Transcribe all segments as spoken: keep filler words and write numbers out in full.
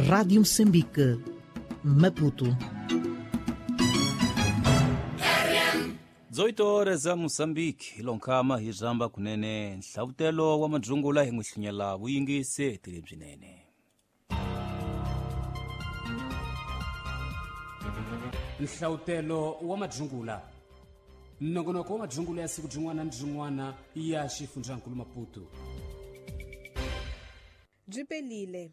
Rádio Moçambique, Maputo. dezoito horas a Moçambique, ilonkama hijamba kunene nhlavutelo wa madzungula hi n'wi vuyingisi tilebzinene. Nhlavutelo wa madzungula nongonoko wa madzungula ya siku byin'wana na byin'wana ya xifundzankulu Maputo. Byi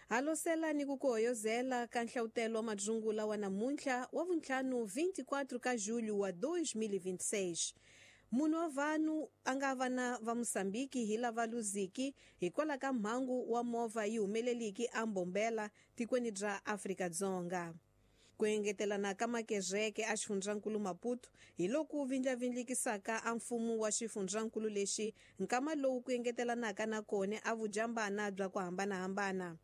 halosela ni ku kuhoyozela ka nhlavutelo wa madzungula wa namuntlha wa vuntlhanu vinte e quatro ka julho wa dois mil e vinte e seis. Munhu wa vanhu a nga vana va Moçambique hi lava luziki hikwalaho ka mhangu wa movha yi humeleliki a Mbombela tikweni bya Afrika-Dzonga. Ku engetelana ka makezeke a xifundzankulu Maputo hi loku vindlavindlikisaka a mfumo wa xifundzankulu lexi nkama lowu ku engetelanaka na kona a vujambana bya ku hambanahambana.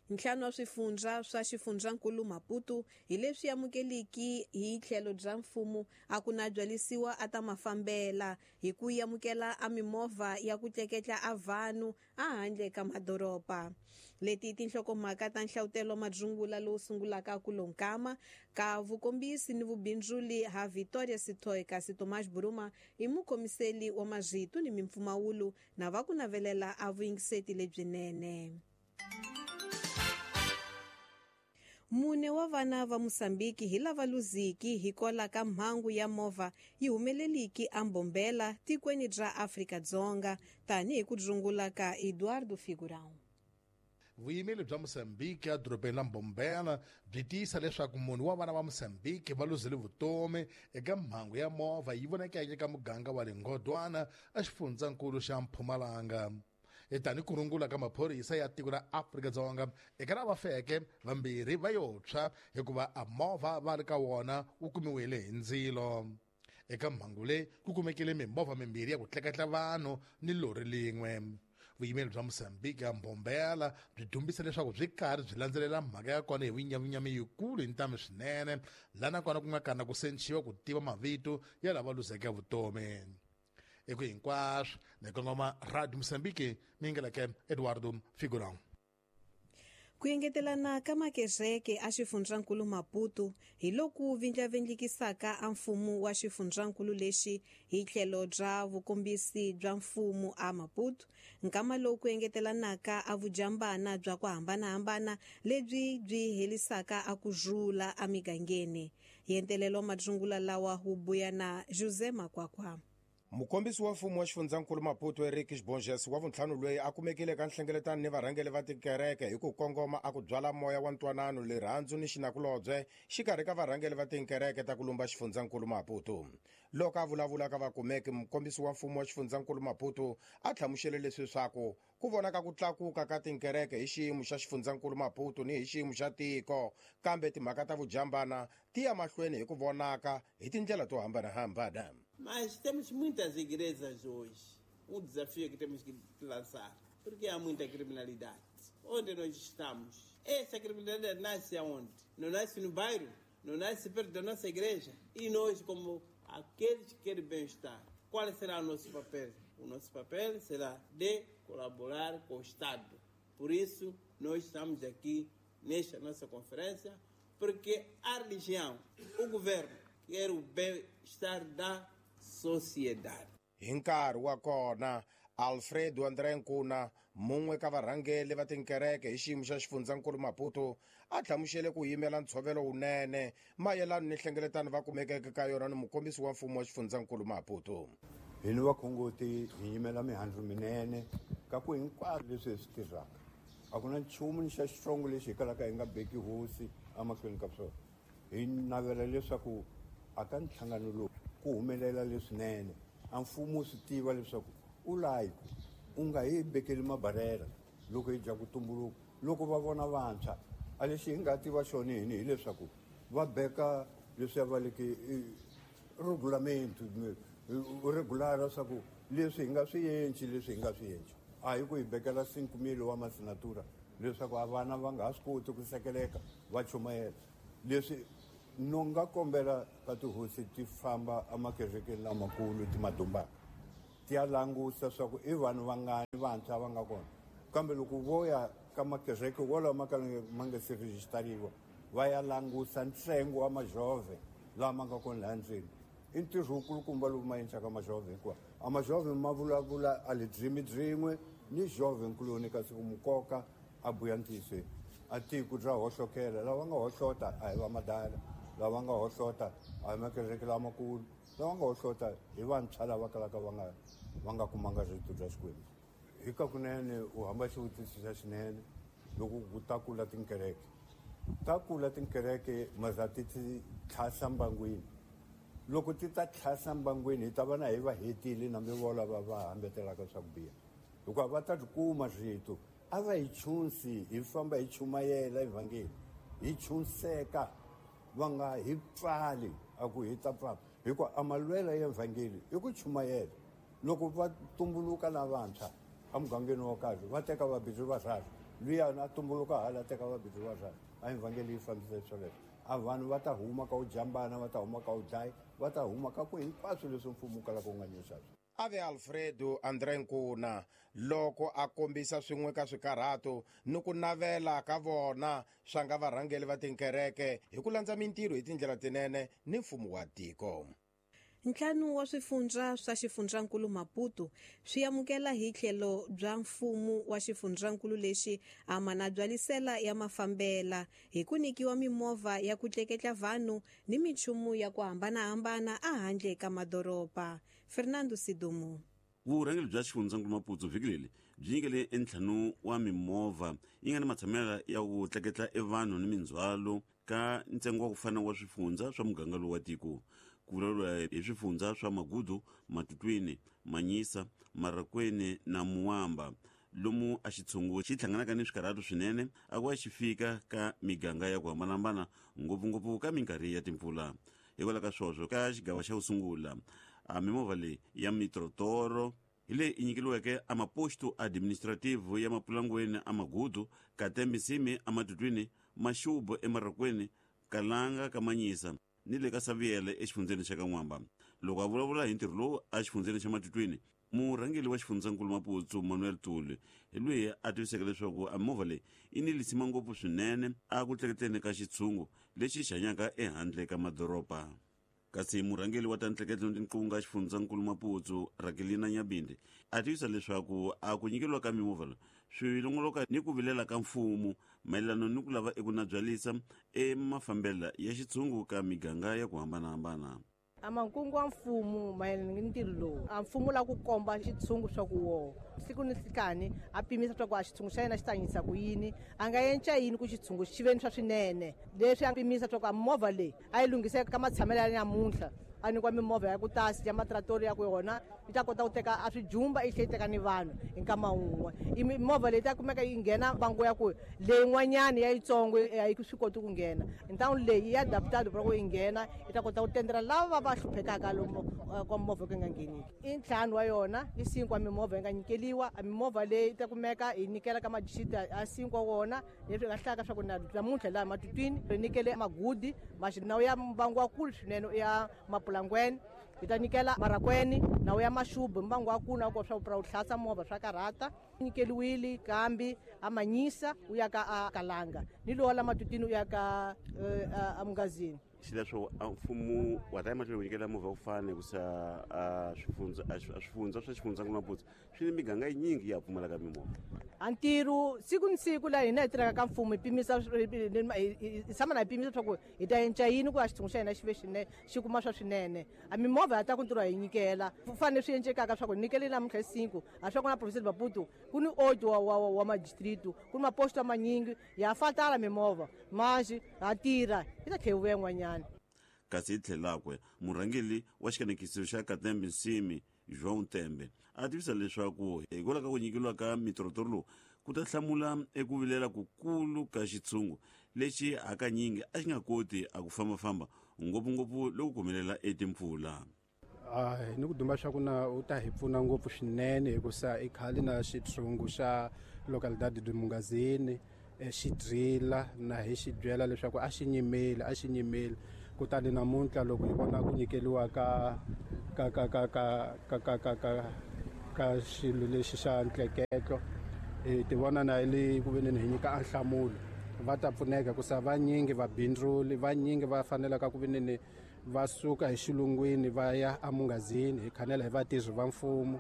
Ntlhanu wa swifundza swa xifundzankulu Maputo hi leswi amukeliki hi tlhelo bya mfumo a ku na byalisiwa a ta mafambela hi ku amukela a mimovha ya ku tleketla a vanhu a handle ka madoroba. Leti tinhlokomhaka ta nhlavutelo madzungula lowu sungulaka ku lonkama ka vukombisi ni vubindzuli ha Victoria Sitoy kasi Tomás Buruma i mukhomiseli wa mazvitu ni mimpfumawulo na va ku navelela a vuyingiseti lebyinene. Mune wa vana va Moçambique hi lava luziki hikwalaho ka mhangu ya movha yi humeleliki a Mbombela tikweni bya Afrika-Dzonga tanihi ku dzungula ka Eduardo Figurão. Vuyimeli bya Moçambique edorobeni la Mbombela byi tiyisa leswaku munhu wa vana va Moçambique va luzile vutomi eka mhangu ya movha yi vonakeke eka muganga wa le Ngodwana exifundzankulu xa Mpumalanga. Tani ku rungula ka maphorisa ya tiko ra Afrika-Dzonga eka lava feke vambirhi va yo tshwa hikuva a movha va ri ka wona wu kumiwile hi ndzilo. Eka mhangu leyi ku kumekile mimovha mimbirhi ya ku tleketla vanhu ni lori lin'we. Vuyimeli bya Moçambique ya Mbombela byi dumbisa leswaku byi karhi byi landzelela mhaka ya kona hi vunyavunyami yikulu hi ntamu swinene, laha nakona ku nga kana ku senciwa ku tiva mavito ya lava luzeke vutomi. Eku hinkwaswo ni kongoma Radio Moçambique mingeleke Eduardo Figurão. Ku engetelana ka makezeke a xifundzankulu Maputo hi loku vindlavindlikisaka a mfumo wa xifundzankulu lexi hi tlhelo bya vukombisi bya mfumo a Maputo nkama lowu ku engetelanaka a vujambana bya ku hambanahambana lebyi byi helisaka a ku rhula emigangeni. Yentelelo madzungula lawa wu buya na José Makwakwa. Mukombisi wa mfumo wa xifundzankulu Maputo Eric Bonges wa vuntlhanu loyi a kumekile ka nhlengeletano ni varhangeli va tikereke hi ku kongoma a ku byala moya wa ntwanano, rirhandzu ni xinakulobye xikarhi ka varhangeli va tikereke ta ku lumba xifundzankulu Maputo. Loko a vulavula ka vakumeki, mukombisi wa mfumo wa xifundzankulu Maputo a hlamusele leswi swaku ku vonaka ku tlakuka ka tikereke hi xiyimo xa xifundzankulu Maputo ni hi xiyimo xa tiko, kambe timhaka ta vujambana ti ya mahlweni hi ku vonaka hi tindlela to hambanahambana. Mas temos muitas igrejas hoje. Um desafio que temos que lançar, porque há muita criminalidade. Onde nós estamos? Essa criminalidade nasce aonde? Não nasce no bairro, não nasce perto da nossa igreja. E nós, como aqueles que querem bem-estar, qual será o nosso papel? O nosso papel será de colaborar com o Estado. Por isso, nós estamos aqui nesta nossa conferência, porque a religião, o governo, quer o bem-estar da sociedade. Hi nkarhi wa kona, Alfredo André Nkuna, mun'we ka varhangeli va tinkereke hi xiyimo xa xifundzankulu Maputo, a hlamusele ku yimela ntshovelo wunene mayelana ni nhlengeletano va kumekeke ka yona ni mukombisi wa mfumo wa xifundzankulu Maputo. Hi ni vakhongoti hi yimela mihandzu minene ka ku hinkwaswo leswi hi swi tirhaka. A ku na nchumu ni xa xitsongo lexi hi kalaka hi nga beki hosi emahlweni ka swona. Hi navela leswaku a ka nhlangano lowu ku humelela leswinene, a mfumo wu swi tiva leswaku u layi u nga hi bekeli mabarera loko hi dya ku tumbuluka. Loko va vona vantshwa a lexi hi nga tiva xona hini hileswaku va beka leswi va leke regulamento regular leswaku leswi hi nga swi endli leswi hi nga swi endli a hi ku hi bekela cinco mil wa masinatura leswaku a vana va nga ha swi koti ku sekeleka va chumayela. Leswi no nga kombela ka tihosi ti famba emakerekeni lamakulu ti madumbaka ti ya langusa swa ku i vanhu vangani vantshwa va nga kona, kambe loko vo ya ka makereke walawo ma ka ma nga se rejistariwa va ya langusa ntsengo wa majove lama nga kona laha ndzeni. I ntirho wukulukumba lowu ma endlaka majove hikuva a majove ma vulavula a lidzimi byin'we ni jove nkuloni kasi ku mukoka a buya ntiyiso a tiko bya hohlokela. Lava nga hohlota a hi va madala, lava nga hohlota a hi makereke lamakulu, lava nga hohlota hi vantshwa lava kalaka va nga va nga kumanga rito bya Xikwembu. Hi ka kunene u hamba xivutiso xa xinene loko ku ta kula tinkereke ta kula tinkereke maza ti ti tlhasa mbangwini. Loko ti ta tlhasa mbangwini hi ta va na hi va hetile na mi vola va va hambetelaka swa ku biha, hikuva va ta kuma rito a va hi chunsi hi famba hi chumayela evhangeli hi chunseka va nga hi pfali a ku hi ta pfala, hikuva a malwela ya evhangeli i ku chumayela. Loko va tumbuluka na vantshwa emugangeni wo karhi va teka vabindzu va luya a tumbuluka hala teka vabindzu va a evhangeli yi fambisa swoleswo. A vanhu va ta huma ka u jambana, va ta huma ka u dlaya, va ta huma ka ku hinkwaswo leswi mfumo wu kalaka wu nga nyisa. Ave Alfredo André Nkuna loko a kombisa swin'we ka swikarhato ni ku navela ka vona swa nga varhangeli va tinkereke hi ku landza mintirho hi tindlela tinene ni mfumo wa tiko. Ntlhanu wa swifundza swa xifundzankulu Maputo swi amukela hi tlhelo bya mfumo wa xifundzankulu lexi a mana byalisela ya mafambela hi ku nyikiwa mimovha ya ku tleketla vanhu ni minchumu ya ku hambanahambana ehandle ka madoroba. Fernando Sidumo. Vurhangeri bya xifundzankulu Maputo vhiki leri byi nyikele entlhanu wa mimovha yi nga ni matshamelo ya ku tleketla evanhu ni mindzhwalo ka ntsengo wa ku fana wa swifundza swa muganga lowu wa tiko. Ku vulavuriwa hi swifundza swa Magudu, Matutwini, Manyisa, Marakweni na Muwamba, lomu a xitshungu xi hlanganaka ni swikarhato swinene a ku va xi fika ka miganga ya ku hambanahambana, ngopfungopfu ka minkarhi ya timpfula. Hikwalaho ka swoswo ka xigava xa ku sungula a mimovha leyi ya mitrotoro hi leyi i nyikeliweke a maposto administrative ya Mapulangweni a Magudu, Katembisimi a Matutwini, Maxubu eMarakweni, Kalanga ka Manyisa ni le ka Saviele exifundzeni xa Kan'wamba. Loko a vulavula hi ntirho lowu a xifundzeni xa Matutwini, murhangeri wa xifundzankulu Maputo Manuel Tuli hi loyi a tiviseke leswaku a mimovha leyi yi ni lisima ngopfu swinene a ku tleketleni ka xitshungu lexi xi hanyaka ehandle ka madoroba. Kasi murhangeri wa ta ntleketlo ni tinqunga xifundzankulu Maputo Rakelina Nyabinde a tivisa leswaku a ku nyikeriwa ka mimovha leyi swi longoloka ni ku vilela ka mfumo mayelana ni ku lava eku nabyalisa emafambela ya xitshungu ka miganga ya ku hambanahambana. A mankungu wa mfumo mayelana ni ntirho lowu a mfumo la ku komba xitshungu swa ku woho siku ni nhlikani a pimisa swa ku a xitshungu xa yena xi tanyisa ku yini, a nga enca yini ku xitshungu xi ve ni swa swinene. Leswi a pimisa swa ku a movha leyi a yi lunghiseka ka matshamelo ya namuntlha, a nyikiwa mimovha ya ku tasi ya matratori ya ku yona yi ta kota ku teka a swijumba yi tlhela yi teka ni vanhu hi nkama wun'we. I mimovha leyi ta kumeka yi nghena bango ya ku leyin'wanyani ya yitsongo a yi swi koti ku nghena. Ntawu leyi ya adaptado ku yi nghena yi ta kota ku tendela lava va hluphekaka lomu ka movha ku nga ngheniki. I ntlhanu wa yona i sinkwa mimovha yi nga nyikeliwa. A mimovha leyi yi ta kumeka yi nyikela ka madixiti a sinkwa wona leswi nga hlaka swa ku namuntlha laha Matutwini ri nyikele Magudi nawu ya mbangu wa kulu swinene ya Mapulangweni, yi ta nyikela Marakweni nawu ya Maxubu mbangu wa kulu na ku swa ku hlasa movha swa karhata. Nyikeliwile kambi a Manyisa u ya ka a Kalanga ni lowa la Matutwini u ya ka a Mungazini. Xileswo a mfumo wa ta emahlweni wu nyikela movha ku fana hikusa a swifundza a swifundza swa xifundzankulu Maputo swi ni miganga yinyingi ya pfumalaka mimovha. A ntirho siku ni siku laha hina hi tirhaka ka mfumo hi pimisa hi tshama na hi pimisa swa ku hi ta enca yini ku a xitshungu xa hina xi ve xinene xi kuma swa swinene. A mimovha ya ta ku ntirho hi nyikela ku fanele swi encekaka swa ku nyikele namuntlha hi cinco a swa ku na province Maputo ku ni oito wa wa wa madistrito ku ni maposto manyingi ya fatala mimovha manji ha tirha yi ta tlhela yi vuya yin'wanyana. Kasi hi tlhelakwe murhangeri wa xikanekiso xa Katembe Nsimi João Tembe a tivisa leswaku hikwalaho ka ku nyikeriwa ka mitrotoro lowu ku ta hlamula eku vilela kukulu ka xitshungu lexi hakanyingi a xi nga koti a ku fambafamba ngopfungopfu loko ku humelela etimpfula. A ni ku duma swa ku na u ta hi pfuna ngopfu swinene hikusa i khale na xitshungu xa localidade de Mungazini xi drila na hi xi byela leswaku a xi nyimeli a xi nyimeli. Kutani namuntlha loko hi vona ku nyikeliwa ka ka ka ka ka ka ka ka ka ka xilo lexi xa ntleketlo Hi ti vona na le ku veneni hi nyika nhlamulo va ta pfuneka ku sa vanyingi va bindzuli vanyingi va fanelaka ku veneni va suka hi xilungwini va ya emungazini hi khanela hi vatirhi va mfumo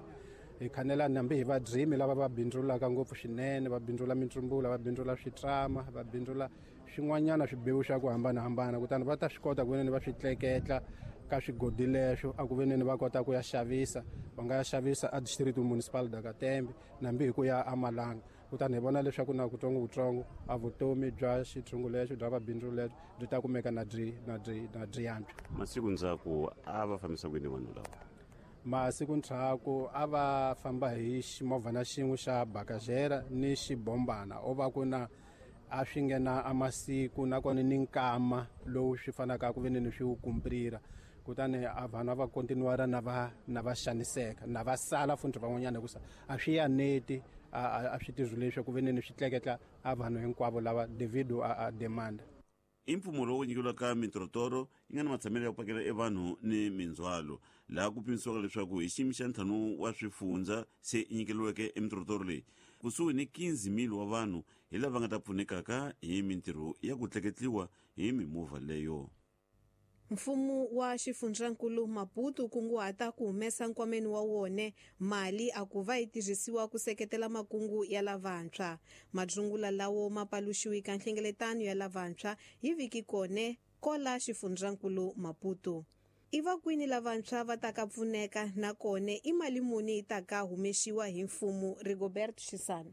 hi khanela nambi hi vadyimi lava va bindzulaka ngopfu swinene va bindzula mitsumbula va bindzula switrama va bindzula swin'wanyana swibewu swa ku hambanahambana kutani va ta swi kota ku veneni va swi tleketla ka swigodi leswo a ku veneni va kota ku ya xavisa va nga ya xavisa a district municipal da Katembe nambi hi ku ya amalanga kutani hi vona leswaku na kutsongokutsongo a vutomi bya xitshungu lexo bya vabindzu lexo byi ta kumeka na byi na byi na byi yantswa. Masiku ndzhaku a va fambisa ku yini vanhu lava? Masiku ndzhaku a va famba hi ximovhana xin'we xa bakajera ni xibombana o va ku na a swi nghena a masiku nakona ni nkama lowu swi fanaka ku veneni swi wu kumprira kutani a vanhu a va kontinuara na va na va xaniseka na va sala futhi van'wanyana hikusa a swi yaneti a swi tirhi leswi ku veneni swi tleketla a vanhu hinkwavo lava devido a, a demanda. I mpfumo lowu nyikiwaka mintorotoro yi nga na matshamelo ya ku pakela evanhu ni mindzhwalo laha ku pimisiwaka leswaku hi xiyimo xa ntlhanu wa swifundza se yi nyikeliweke emintorotoro leyi kusuhi ni quinze mil wa vanhu hi lava nga ta pfunekaka hi mintirho ya ku tleketliwa hi mimovha leyo. Mfumo wa xifundzankulu Maputo kunguhata ku humesa nkwameni wa wona mali a ku va yi tirhisiwa ku seketela makungu ya lavantshwa. Madzungula lawo ma paluxiwi ka nhlengeletano ya lavantshwa hi vhiki kone kola xifundzankulu Maputo. I va kwini lavantshwa va ta ka pfuneka nakona i mali muni yi ta ka humexiwa hi mfumo? Rigobert Shisana.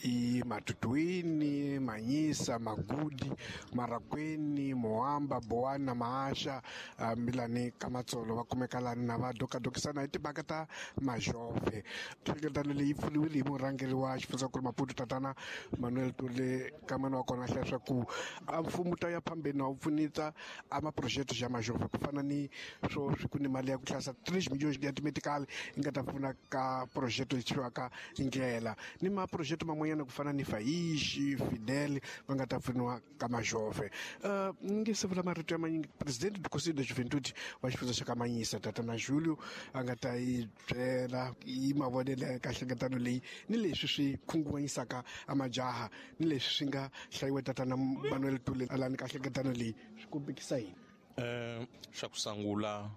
I Matutuini, Manyisa, Magudi, Marakweni, Moamba, Boana, Maasha, uh, Milani, Kamatsolo, va kumeka lani na va dokadokisana hi timhaka ta majove. Nhlengeletano leyi pfuniwile hi murhangeri wa xifundzankulu Maputo tatana Manuel Tule kamana wa kona hlaya swa ku a mfumo ta ya phambeni na wu pfunita a maproject ya majove ku fana ni swo swi ku ni mali ya ku hlayisa three million ya timedical yi nga ta pfuna ka project leyi thyiwaka ndlela ni maproject man'wanyana ku fana ni Faishi, Fidel va nga ta pfuniwa ka majove. Uh, ni nge se vula marito ya manyingi president do Conselho da Juventude wa xifundza xa ka Manyisa tatana Julio a nga ta yi byela yi mavonelo ka nhlengeletano leyi ni leswi swi khunguvanyisaka a majaha ni leswi swi nga hlayiwa tatana Manuel Tule alani ka nhlengeletano leyi swi kombekisa yini. Eh xa ku sungula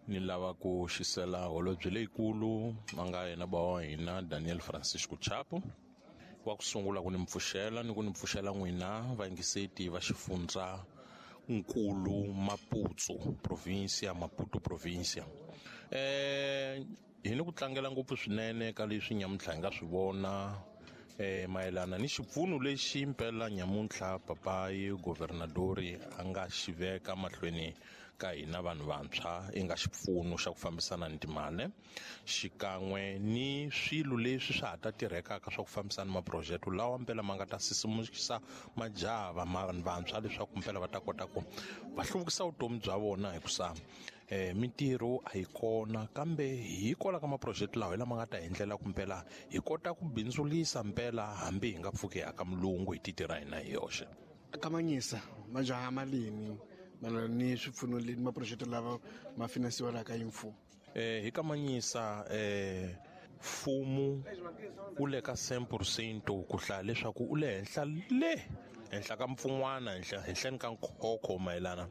ni lava ku xisela holobye leyikulu a nga yena ba wa hina Daniel Francisco Chapo wa ku sungula ku ni mpfuxela ni ku ni mpfuxela n'wina vayingiseti va xifundza nkulu Maputo provincia Maputo provincia. Eh hi ni ku tlangela ngopfu swinene ka leswi nyamuntlha hi nga swi vona eh mayelana ni xipfuno lexi mpela nyamuntlha papayi governadori a nga xi veka mahlweni ka hina vanhu vantshwa i nga xipfuno xa ku fambisana ni timali xikan'we ni swilo leswi swa ha ta tirhekaka swa ku fambisana ni maproject lawa mpela ma nga ta sisimukisa majaha vanhu vantshwa leswaku mpela va ta kota ku va hluvukisa vutomi bya vona hikusa eh mintirho a yi kona kambe hi kola ka maproject lawa hi lama nga ta hi ndlela ku mpela hi kota ku bindzulisa mpela hambi hi nga pfuki aka mulungu hi titi ra hina hi yoxe. Ka Manyisa majaha malini malana ni swipfuno leni maproject lava ma finansiwaka hi mfumo? Eh hi ka Manyisa eh mfumo wu le ka cent percent ku hlaya leswaku u le henhla le henhla ka mpfun'wana henhla henhleni ka nkhokho mayelana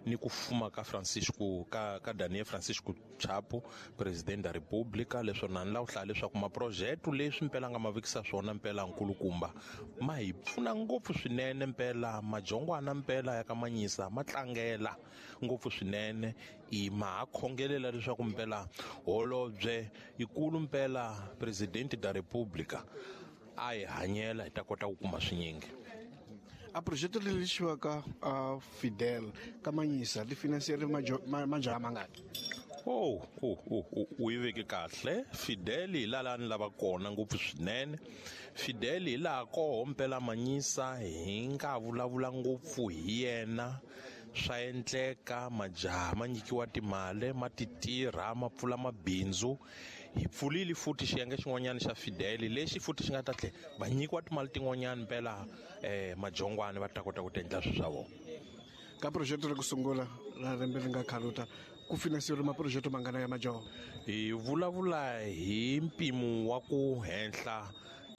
ni ku fuma ka Francisco ka ka Daniel Francisco Chapo president da Republika leswo na ni lava ku hlaya leswaku maproject leswi mpela nga ma vekisa swona mpela nkulukumba ma hi pfuna ngopfu swinene mpela majongwana mpela ya ka Manyisa ma tlangela ngopfu swinene i ma ha khongelela leswaku mpela holobye ikulu mpela president da Republika a hi hanyela hi ta kota ku kuma swinyingi. A projeto leri xivaka a Fidel ka Manyisa li finansiere majaha mangaki? Oh, oh, oh, oh, u yi veke kahle. Fidel hi laha ni lava kona ngopfu swinene. Fidel hi laha koho mpela Manyisa hi nga vulavula ngopfu hi yena. Swa endleka majaha ma nyikiwa timali ma ti tirha ma pfula mabindzu. Hi pfulile futhi xiyenge xin'wanyana xa Fidel lexi futhi xi nga ta tlhela va nyikiwa timali tin'wanyana mpela eh majongwana va ta kota ku ti endla swilo swa vona. Ka project ra ku sungula ra lembe ri nga khaluta ku finansiwa maproject mangana ya majaha? Hi vulavula hi mpimo wa ku henhla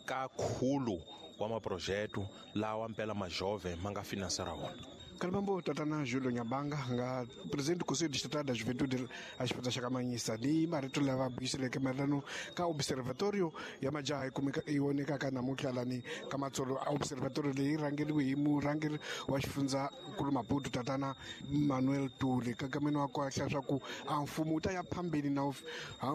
Ka khulu wa maprojeto lawa mpela majove ma nga finansera wona. Kalibambo tatana Julio Nyabanga nga presidente do Conselho Distrital da Juventude a xifundza xa Kamanyisa ni marito lava buyiseleke mayelano ka observatorio ya majaha yi kumeka yi vonekaka namuntlha lani ka Matsolo. A observatorio leyi rhangeriwe hi murhangeri wa xifundzankulu Maputo tatana Manuel Tuli. Kakameni wa kwahla swa ku a mfumo wu ta ya phambeni na wu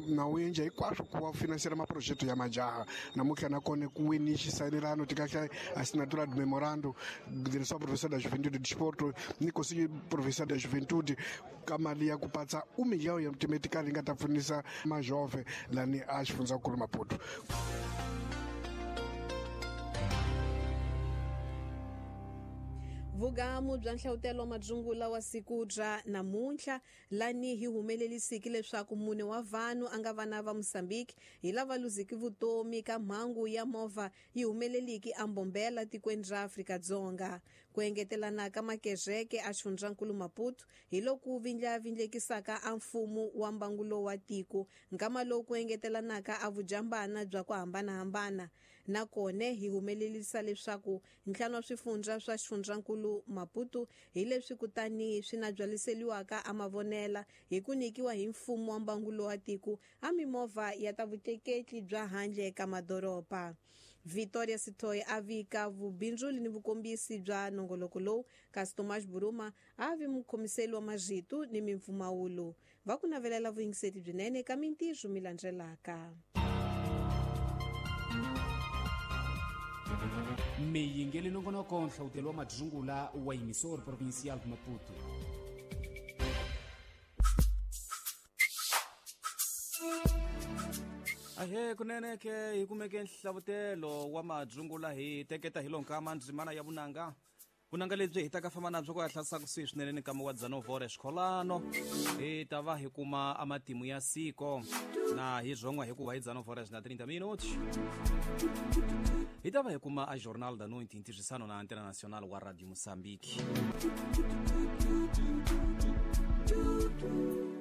na wu endla hinkwaswo ku va finansela maprojeto ya majaha. Namuntlha nakona ku weni xisayinelano tikahle assinatura de memorando Direção Provincial da Juventude e Desporto ni Conselho Provincial da Juventude ka mali ya ku patsa um milhão ya timetikali yi nga ta pfunisa majove lani a xifundzankulu Maputo. Vugamu bya nhlawutelo wa madzungula wa siku bya namuntlha lani hi humelelisiki leswaku mune wa vanhu a nga vana va Mozambique hi lava luziki vutomi ka mhangu ya movha yi humeleliki ambombela tikweni ra Afrika-Dzonga. Ku engetelana ka makezeke a xifundzankulu Maputo hi loku vindlavindlekisaka a mfumo wa mbangulo wa tiko nkama lowu ku engetelanaka a vujambana bya ku hambanahambana. Nakona hi humelelisa leswaku ntlhanu wa swifundza swa xifundzankulu Maputo hi leswi kutani swi na byaliseliwaka a mavonela hi ku nyikiwa hi mfumo wa mbangulo wa tiko a mimovha ya ta vutleketli bya handle ka madoroba. Victoria Sitoy a vika vubindzuli ni vukombisi bya nongoloko lowu, kasi Tomás Buruma a vi mukhomiseli wa marito ni mimpfumawulo. Va ku navelela vuyingiseti byinene ka mintirho mi landzelaka. Miyingeli nongonoko nhlawutelo wa madzungula wa Emissor Provincial de Maputo. Ahe kunene ke hi kumeke nhlavutelo wa madzungula hi teketa hi lonkama ndzimana ya vunanga. Vunanga lebyi hi ta ka famba na byo ku ya hlasaka kusuhi swinene ni nkama wa Dzanovore xikholano. Hi ta va hi kuma a matimu ya siko na hi byon'wa hikuva hi Dzanovore na trinta minutos. Hi ta va hi kuma a Jornal da Noite ntirhisano na Antena Nacional wa Radio Moçambique.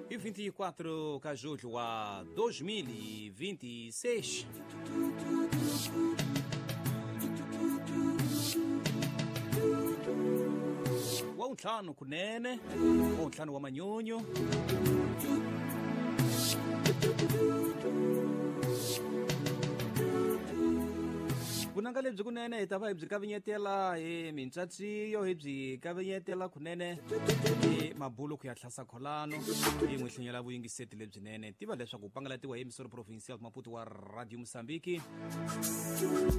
E vinte e quatro de julho a dois mil e vinte e seis. Wa ntlhanu kunene, wa ntlhanu wa manyunyu. Vunanga lebyi kunene hi ta va hi byi kavinyetela hi mintsatsiyo, hi byi kavinyetela kunene hi mabulu ku ya hlasa kholano, hi n'wi hlenyela vuyingiseti lebyinene. Tiva leswaku pangalatiwa hi Emissor Provincial Maputo wa Radio Moçambique.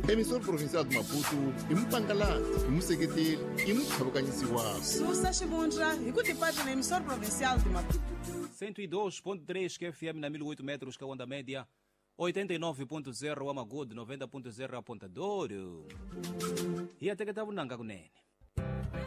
Emissor Provincial de Maputo i mupangalati, i museketeli, i mutlhavukanyisi wa susa xivundla hi ku tipata na Emissor Provincial de Maputo. cento e dois ponto três Q F M na mil e oito metros, que é a onda média. oitenta e nove ponto zero Amagod, noventa ponto zero Apontador. E até que tava nanga kunene.